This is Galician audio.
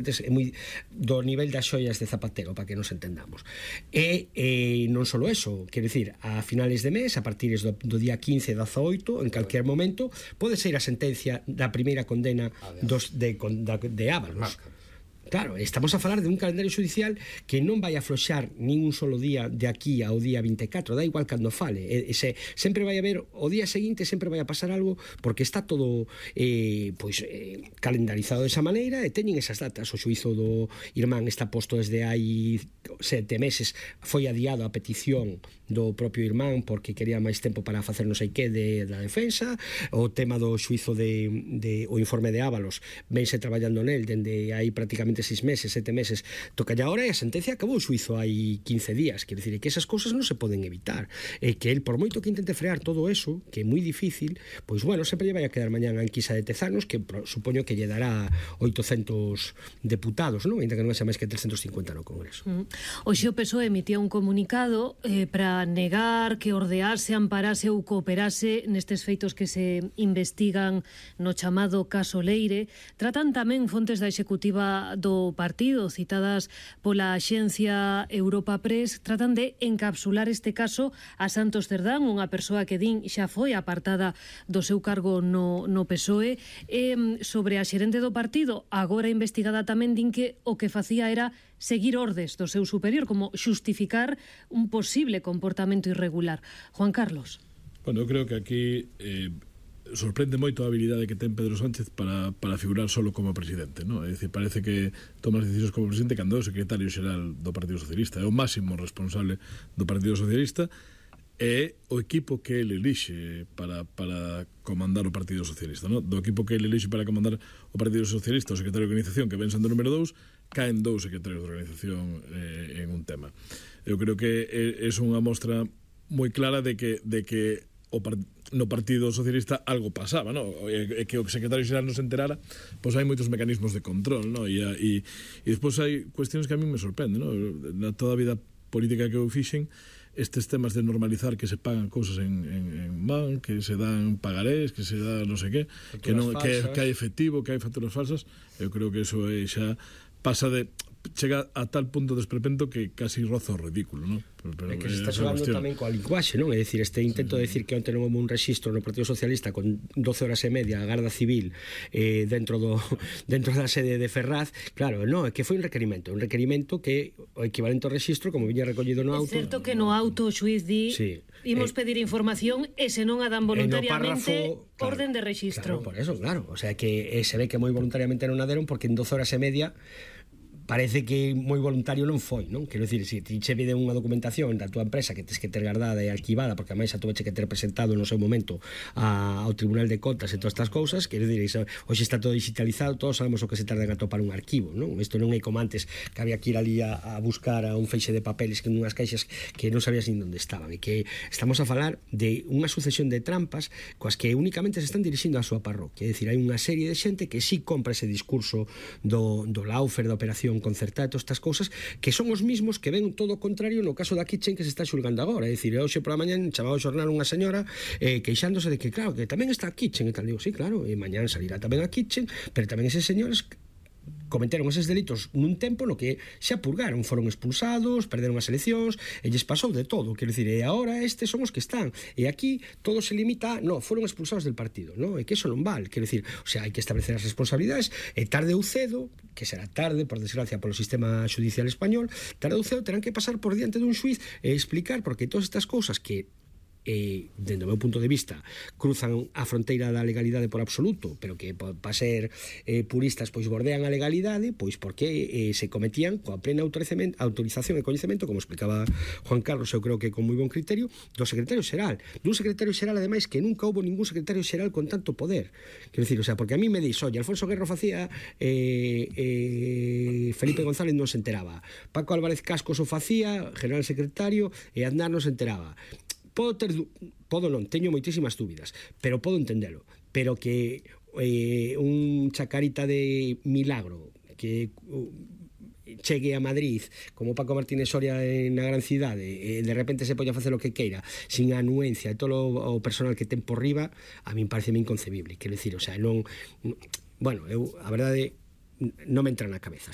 é moi do nivel das xoias de Zapatero, para que nos entendamos. E non só eso, quero dicir, a finales de mes, a partir do día 15 e 18, en calquer momento pode ser a sentencia da primeira condena de Ábalos. Claro, estamos a falar de un calendario judicial que non vai afloxar nin un solo día de aquí ao día 24, da igual cando fale, sempre vai haber, o día seguinte sempre vai a pasar algo, porque está todo calendarizado desa maneira, e teñen esas datas. O xuízo do irmán está posto desde hai 7 meses, foi adiado a petición do propio irmán porque quería máis tempo para facer non sei que da defensa. O tema do xuízo o informe de Ábalos vense traballando nel dende hai prácticamente 6 meses, 7 meses, toca ya ahora, e a sentencia acabou o xuízo hai 15 días. Quer dicir, que esas cousas non se poden evitar, e que el, por moito que intente frear todo eso, que é moi difícil, pois bueno, sempre lle vai a quedar mañán a enquisa de Tezanos, que supoño que lle dará 800 deputados, non? Ainda que non xa máis que 350 no Congreso. Hoxe o PSOE emitía un comunicado para negar que ordease, amparase ou cooperase nestes feitos que se investigan no chamado caso Leire. Tratan tamén fontes da executiva do partido, citadas pola axencia Europa Press, tratan de encapsular este caso a Santos Cerdán, unha persoa que din xa foi apartada do seu cargo no PSOE. Sobre a xerente do partido, agora investigada, tamén din que o que facía era seguir ordes do seu superior, como xustificar un posible comportamento irregular. Juan Carlos. Bueno, eu creo que aquí sorprende moito a habilidade que ten Pedro Sánchez para figurar solo como presidente, ¿no? É dicir, parece que toma as decisións como presidente cando é o secretario xeral do Partido Socialista, é o máximo responsable do Partido Socialista, é o equipo que ele elixe para comandar o Partido Socialista, ¿no? Do equipo que ele elixe para comandar o Partido Socialista, o secretario de organización, que ven sendo número 2, caen 2 secretarios de organización en un tema. Eu creo que é unha mostra moi clara de que no Partido Socialista algo pasaba, ¿no? E que o secretario xeral non se enterara, pois hai moitos mecanismos de control, ¿no? E despois hai cuestións que a mí me sorprenden, ¿no? Na toda a vida política que eu fixen, estes temas de normalizar que se pagan cousas en man, que se dan pagarés, que se dá non sei que hai efectivo, que hai facturas falsas, eu creo que eso xa pasa chega a tal punto de esperpento que casi roza o ridículo, non? É que se está xogando tamén coa linguaxe, non? É dicir, este intento de decir que onte non houve un rexistro no Partido Socialista con 12 horas e media a Garda Civil dentro da sede de Ferraz, claro, non, é que foi un requerimento que o equivalente ao rexistro, como viña recollido no auto. É certo que no auto o xuiz di imos pedir información e se non a dan voluntariamente orden de rexistro. Claro, por eso, claro, o sea que se ve que moi voluntariamente non a deron, porque en 12 horas e media parece que moi voluntario non foi, non? Quero dicir, se ti che pide unha documentación da tua empresa que tes que ter guardada e arquivada, porque a máis a tuveche que ter presentado no seu momento ao Tribunal de Contas e todas estas cousas, quero dicir, hoxe está todo digitalizado, todos sabemos o que se tarda en atopar un arquivo, non? Isto non é como antes, que había que ir ali a buscar a un feixe de papeles que nunhas caixas que non sabías nin onde estaban, e que estamos a falar de unha sucesión de trampas coas que únicamente se están dirixindo á súa parroquia. É dicir, hai unha serie de xente que sí compra ese discurso do Laufer, da operación concertada, todas estas cousas, que son os mismos que ven todo o contrario no caso da Kitchen que se está xulgando agora. É dicir, hoxe por a mañán chamaba o xornal unha señora queixándose de que, claro, que tamén está a Kitchen e tal. Digo, sí, claro, e mañán salirá tamén a Kitchen, pero tamén eses señores cometeron eses delitos nun tempo no que xa purgaron, foron expulsados, perderon as eleccións, e lles pasou de todo, quero dicir, e agora estes son os que están, e aquí todo se limita, foron expulsados del partido, e que eso non vale, quero dicir, o sea, hai que establecer as responsabilidades, e tarde ou cedo, que será tarde, por desgracia, polo sistema judicial español, tarde ou cedo terán que pasar por diante dun xuiz e explicar porque todas estas cousas que dentro do meu punto de vista cruzan a fronteira da legalidade por absoluto, pero que para ser puristas pois bordean a legalidade, pois porque se cometían coa plena autorización e coñecemento, como explicaba Juan Carlos, eu creo que con moi bon criterio, do secretario xeral, dun secretario xeral ademais que nunca houve ningún secretario xeral con tanto poder, quero dicir, o sea, porque a mí me dix, oye, Alfonso Guerro facía Felipe González non se enteraba, Paco Álvarez Cascos o facía, general secretario, e Aznar non se enteraba. Teño moitísimas dúbidas, pero podo entendelo, pero que un chacarita de milagro que chegue a Madrid como Paco Martínez Soria na gran cidade e de repente se poña a facer o que queira sin a anuencia e todo o personal que ten por riba, a min parece inconcebible, quero dicir, o sea, non, bueno, a verdade non me entra na cabeza.